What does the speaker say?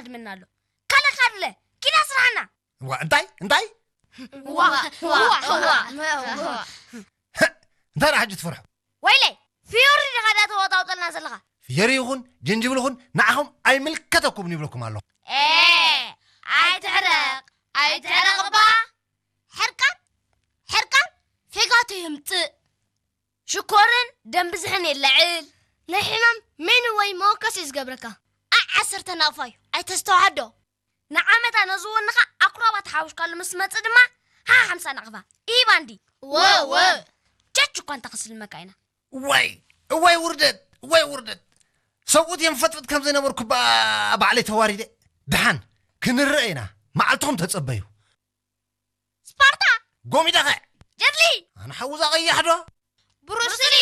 ምና ኣሎ። ካልእ ካድለ፣ ኪዳ ስራሕና። ዋ፣ እንታይ? እንታይ? ዋ፣ ዋ፣ ዋ፣ ዋ። እንታይ ደኣ ሕጂ ትፈርሑ? ወይለይ፣ ፍዮሪ ዲኻ ዳ ተወጣውጠልና ዘለኻ? ፍዮሪ ይኹን ጅንጅብል ይኹን ንዓኹም ኣይምልከተኩምን ይብለኩም ኣለኹ። ኤ፣ ኣይትሕረቕ፣ ኣይትሕረቕ እባ። ሕርቃን፣ ሕርቃን፣ ፌጋቶ የምጽእ። ሽኮርን ደም ብዝሕን የለዕል። ናይ ሕማም ሜኑ ወይ መወከሲ እዩ ዝገብረካ። ኣዕ ዓሰርተ ናቕፋ እዩ፣ ኣይተስተውዓዶ። ንዓመታ ነዚ ወንኻ ኣኩራባት ሓውሽካሉ ምስ መጽእ ድማ ሃ ሓምሳ ናቕፋ። ኢባንዲ። ወ፣ ወ። ቸች እኳ እንተ ክስልመካ ኢና። እዋይ እዋይ ውርደት እዋይ ውርደት። ሰብኡት እዮም ፈጥፍጥ ከም ዘይነበርኩ ባ- ባዕለይ ተዋሪደ። ደሓን ክንርአ ኢና። መዓልትኹም ተጸበዩ። ስፓርታ። ጎሚዳኸ ጀትሊ። ኣነ ሓውዛ ቀያሕ ዶ? ብሩስሊ።